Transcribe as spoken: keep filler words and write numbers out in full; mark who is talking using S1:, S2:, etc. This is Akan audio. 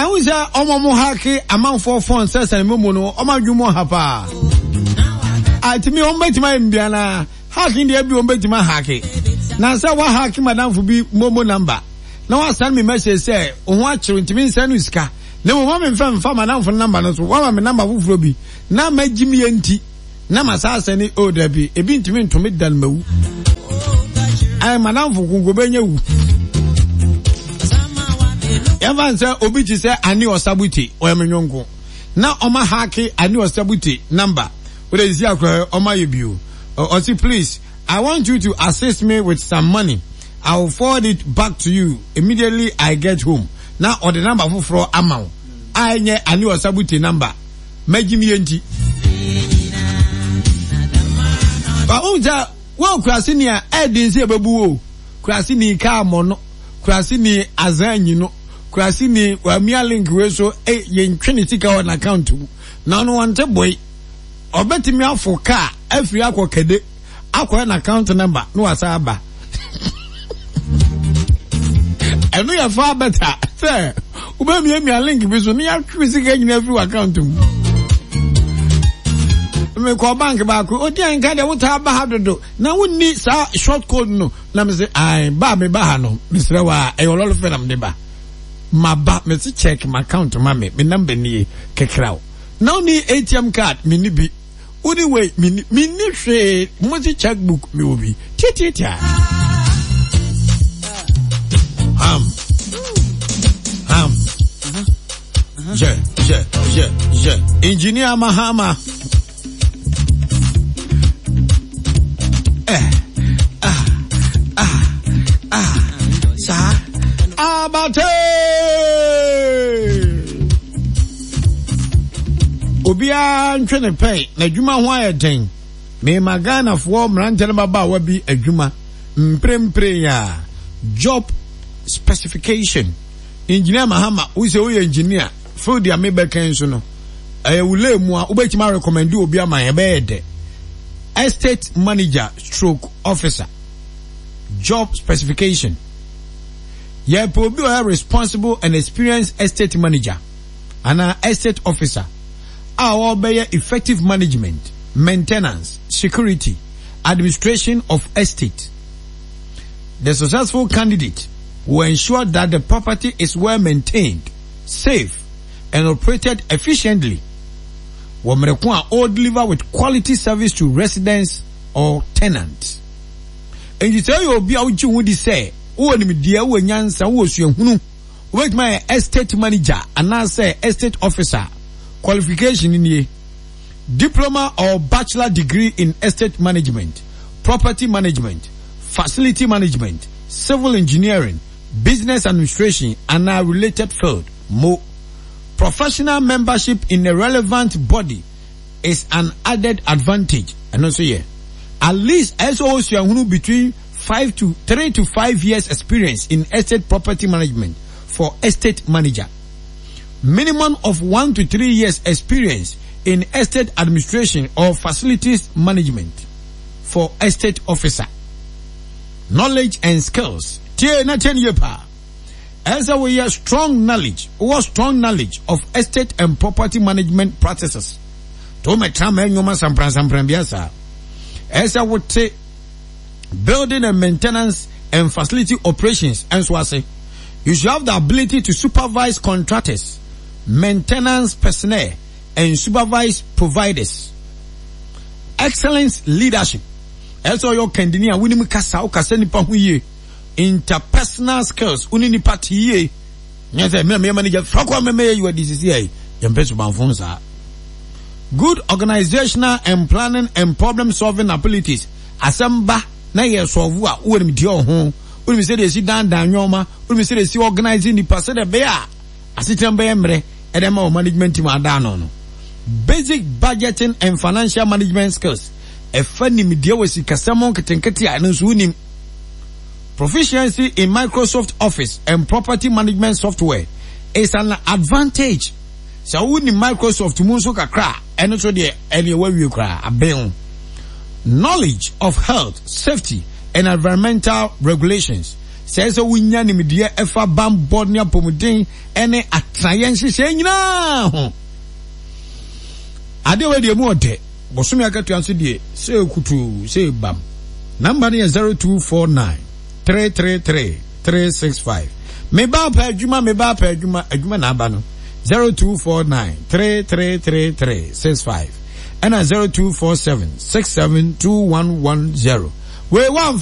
S1: Na wo sɛ ɔmo mo hack amanfoɔ phone sɛ sɛn mu no, ɔmo adwuma mu ha paa. Atumi ɔmo bɛtumi ayɛ mbia na hacking deɛ bi ɔmo bɛtumi ahack. Na sɛ wa hack madamfo bi momo number na wa send me message sɛ ohun akyerɛ ntumi nsɛn no sika. Na mo ma me nfa nfa madamfo number no so, wama me number foforɔ bi na ma gyi mi yɛ nti na ma saa sɛ ne o dabi ebi ntumi ntumi dan mawu. Ayɛ madamfo konko bɛnya wu. Yɛmfa sɛ obi te sɛ Ani Ɔsabuti, ɔyɛ me nyɔnko na ɔma hack Ani Ɔsabuti number wode sisi akora ɔma yɛ bio. Ɔsi, "Please, I want you to assist me with some money. I will forward it back to you immediately I get home." Na ɔde number foforɔ ama wo a ɛnyɛ Ani Ɔsabuti number, mɛgye mi yɛ nti ba ohun sɛ wɔn kurase ni a ɛɛdi nsi ɛbɛbu wo kurase ni kaa mɔ no, kurase ni azan nyi no, kurase ni wamia link wei so ɛ yɛntwe ne sika wɔ n'account mu na ɔno wɔnte boy. Ɔbɛtumi afo kaa afiri akɔ kɛde akɔyɛ n'account number na wasa aba. Ɛno yɛ far better sɛ wobɛmiamia link bi so ne yɛatwe sika nyina afiri w'account mu. Mekɔ bank baako, odi anka deɛ wotaa ba ha dodo na wonni saa short code no, na mese ai ba me ba ha no, mesrɛ wa, ɛyɛ ɔlɔlɔ fɛ na mede ba ma ba mese check my account ma me me number nie kekra wo na wonni A T M card, menni bi, woni wei, menni menni hwee, mo se checkbook mewɔ bi tiatiatia ham ham yɛ yɛ yɛ yɛ Engineer Mahama eh ah ah ah saa abate. Obiara ntwe ne pɛn n'adwuma ho ayɛ den. Mema Ghanafoɔ mmeranteɛ no babaawa bi adwuma mprempren a job specification. Engineer Mahama, wo sɛ woyɛ engineer field a mebɛka nso no ɛyɛ wo lay mu a wobɛtumi arecommend obi ama yɛn bɛyɛ dɛ. Estate manager stroke officer job specification: yɛpɛ obi a ɔyɛ responsible and experienced estate manager anaa estate officer a ɔbɛyɛ effective management, maintenance, security, administration of estate. The successful candidate will ensure that the property is well maintained, safe and operated efficiently wɔ mmerɛ ko a ɔre deliver with quality service to residents or tenants. Nti sɛ ɔyɛ obi a wogye ho di sɛ wowɔ nimdeɛ, wowɔ nyansa, wowɔ suahunu, wobɛtumi ayɛ estate manager anaasɛ estate officer, qualification nie: diploma or bachelor degree in estate management, property management, facility management, civil engineering, business administration anaa related field mo. Professional membership in a relevant body is an added advantage. Ɛno nso yɛ at least ɛsɛ ɔwɔ between five to three to five years experience in estate property management for estate manager, minimum of one to three years experience in estate administration or facilities management for estate officer. Knowledge and skills, tie na tie nie paa. Ɛsɛ woyɛ strong knowledge, wowɔ strong knowledge of estate and property management practices to womɛtra ma ɛnwoma sampransampran bia saa. Ɛsɛ wote building and maintenance and facility operations ɛnso ase. You should have the ability to supervise contractors, maintenance personnel and supervise providers. Excellence leadership, ɛsɛ ɔyɛ ɔkandini a wonim kasa, wokasa nipa ho yie. Interpersonal skills, wone nipa te yie, nyɛ sɛ mmerɛ meyɛ manager fakɔ mɛmɛyɛ yi wadi sisi ayi yɛmpɛ subanfo saa. Good organizational and planning and problem solving abilities, asɛm ba na yɛ solve a, wowɔ nimdeɛ wɔ ho, wonim sɛdeɛ ɛsi dandan nneɔma, wonim sɛdeɛ ɛsi organize nipa sɛdeɛ ɛbɛyɛ a asetena bɛyɛ mmerɛ ɛdɛ ma wɔ management team adaa no no Basic budgeting and financial management skills, ɛfa nimdeɛ wɔ sikasɛm nketenkete a ɛno nso wonim. Proficiency in Microsoft Office and property management software is an advantage. Sɛ wonim Microsoft mu nso kakra a, ɛno nso deɛ ɛneɛ wawie koraa abɛn. Knowledge of health, safety and environmental regulations. Sɛ ɛsɛ wonya nimdeɛ ɛfa bambɔ ne apɔmuden ne atenaeɛ nhyehyɛe nyinaa ho. Adeɛ wei deɛ mu ɔdɛ. Bosome akatua nso deɛ sɛ kutuu sɛ bam. Namba no yɛ zero two four nine three three three three six five. Meba apɛ adwuma, meba apɛ adwuma, adwuma na aba no. zero two four nine three three three three six five ɛna zero two four seven six seven two one one zero. Wei wamfa